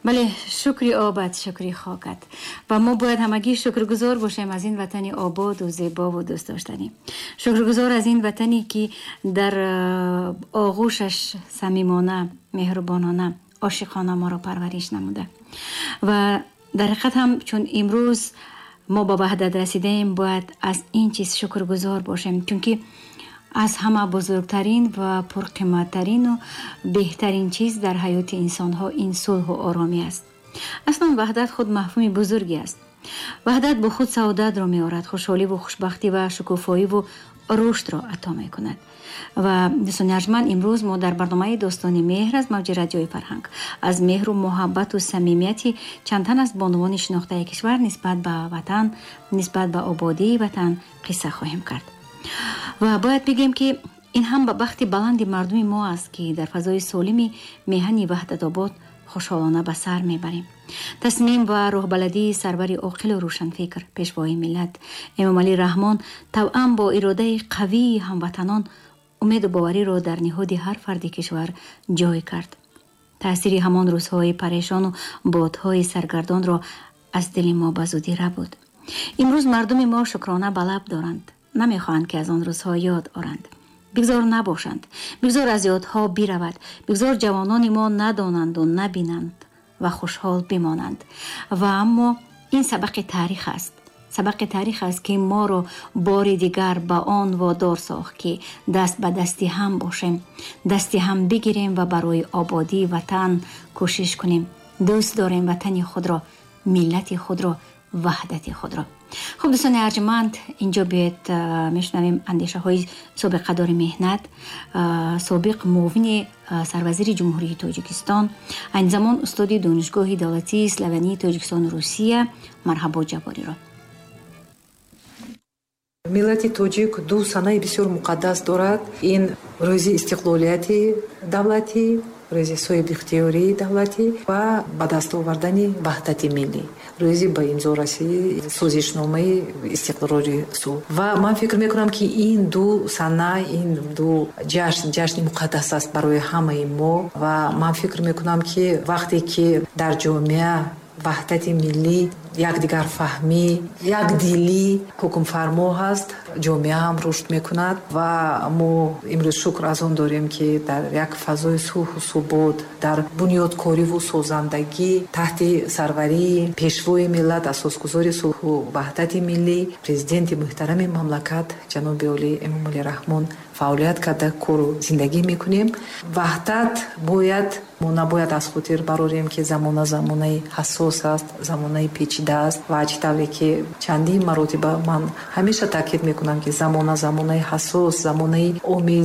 Бале, шукри обад, шукри хокат. Ва мо бояд ҳамагӣ шукргузор бошем аз ин ватани ободу зебову дӯстдоштанӣ, шукргузор аз ин ватане, ки дар оғӯшаш самимона, меҳрубонона, ошиқона моро парвариш намуда. Ва дар ҳақиқат ҳам, чун имрӯз мо ба ваҳдат расидаем, бояд аз ин чиз шукргузор бошем, чунки аз ҳама бузургтарин ва пурқиматтарину беҳтарин чиз дар ҳаёти инсонҳо ин сулҳу оромӣ аст. Аслан ваҳдат худ мафҳуми бузурге аст. Ваҳдат бо худ саодатро меорад, хушҳоливу хушбахтӣ ва шукуфоиву рушдро ато мекунад. Ва, дӯстони арҷманд, имрӯз мо дар барномаи «Достони меҳр» аз мавҷи Радиои Фарҳанг аз меҳру муҳаббату самимияти чанд тан аз бонувони шинохтаи кишвар нисбат ба ватан, нисбат ба ободии ватан қисса хоҳем кард. Ва бояд бигӯем, ки ин ҳам ба бахти баланди мардуми мо аст, ки дар фазои солими меҳани ваҳдатобод хушҳолона ба сар мебарем. Тасмим ва роҳбаладии сарвари оқилу рӯшанфикр, Пешвои миллат Эмомалӣ Раҳмон, тавъам бо иродаи қавии ҳамватанон умеду бовариро дар ниҳоди ҳар фарди кишвар ҷой кард. Таъсири ҳамон рӯзҳои парешону бодҳои саргардонро аз дили мо ба зудӣ рабуд. Имрӯз мардуми мо шукрона ба лаб доранд, намехоҳанд, ки аз он рӯзҳо ёд оранд. Бигзор набошанд, бигзор аз ёдҳо биравад, бигзор ҷавонони мо надонанду набинанд ва хушҳол бимонанд. Ва аммо ин сабақи таърих аст, сабақи таърих аст, ки моро бори дигар ба он водор сохт, ки даст ба дасти ҳам бошем, дасти ҳам бигирем ва барои ободии ватан кӯшиш кунем. Дӯст дорем ватани худро, миллати худро, ваҳдати худро. Хуб, дӯстони арҷманд, инҷо биёед мешунавем андешаҳои собиқадори меҳнат, собиқ муовини сарвазири Ҷумҳурии Тоҷикистон, айни замон устоди Донишгоҳи давлатии славянии Тоҷикистону Русия Марҳабо Ҷаббориро. Миллати тоҷик ду санаи бисёр муқаддас дорад: ин рӯзи истиқлолияти давлатӣ, рӯзи соҳибихтиёрии давлатӣ ва ба даст овардани ваҳдати миллӣ, рӯзи ба имзо расии созишномаи истиқрори сулҳ. Ва ман фикр мекунам, ки ин ду сана, ин ду ҷашн ҷашни муқаддас аст барои ҳамаи мо. Ва ман фикр мекунам, ки вақте ки дар ҷомеа ваҳдати миллӣ, якдигарфаҳмӣ, якдилӣ ҳукмфармо ҳаст, ҷомеа ҳам рушд мекунад. Ва мо имрӯз шукр аз он дорем, ки дар як фазои сулҳу субот, дар бунёдкориву созандагӣ, таҳти сарварии Пешвои миллат, асосгузори сулҳу ваҳдати миллӣ, Президенти муҳтарами мамлакат ҷаноби олӣ Эмомалӣ Раҳмон фаъолият карда, кору зиндагӣ мекунем. Ваҳдат бояд, мо набояд аз хотир барорем, ки замона замонаи ҳассос аст, замонаи печида аст. Ва чӣ тавре ки чандин маротиба ман ҳамеша таъкид мекунам, ки замона замонаи ҳассос, замонаи омез